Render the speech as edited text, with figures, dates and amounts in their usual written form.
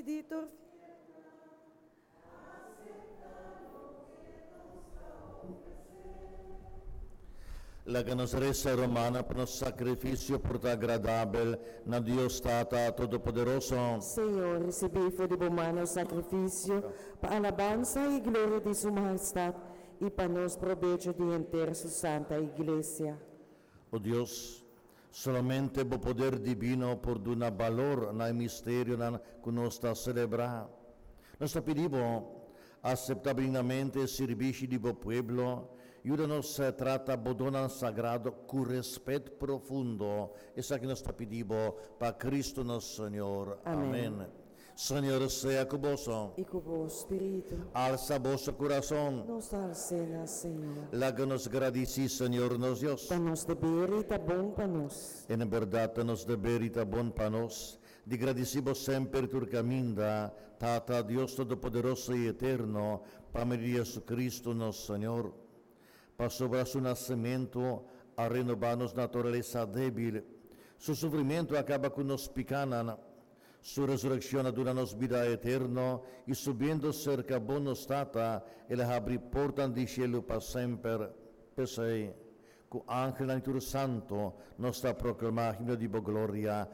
Di tur Laga nos resa, rumannan, pa nos sakrifisio por ta agradabel na Dios Tata Todopoderoso. Señor, risibí for di bo man nos sakrifisio pa alabansa i gloria di Su Mahestat i pa nos probecho di henter Su Santa Iglesia. O Dios, solamente bo poder dibino por duna balor na e misterionan ku nos ta selebrá. Nos ta pidi bo, aseptá benignamente e sirbishi di bo pueblo, yuda nos trata bo donnan sagrado ku rèspèt profundo. Esaki nos ta pidi bo pa Kristu nos Señor. Amèn. Amèn. Señor sea ku boso. I ku bo spiritu. Alsa boso kurason. Nos ta als'é na Señor. Laga nos gradisí Señor nos Dios. Ta nos deber i ta bon pa nos. En bèrdat ta nos deber i ta bon pa nos di gradisí bo semper tur kaminda, Tata, Dios Todopoderoso i Eterno, pa medio di Jesucristo nos Señor. Pasobra su nasementu a renobá nos naturalesa débil, su sufrimentu a kaba ku nos pikánan, su resurekshon a duna nos bida eterno i subiendo serka bo nos Tata, el a habri portan di shelu pa semper. P'esei, ku angelnan i tur santu, nos ta proklamá himno di bo gloria.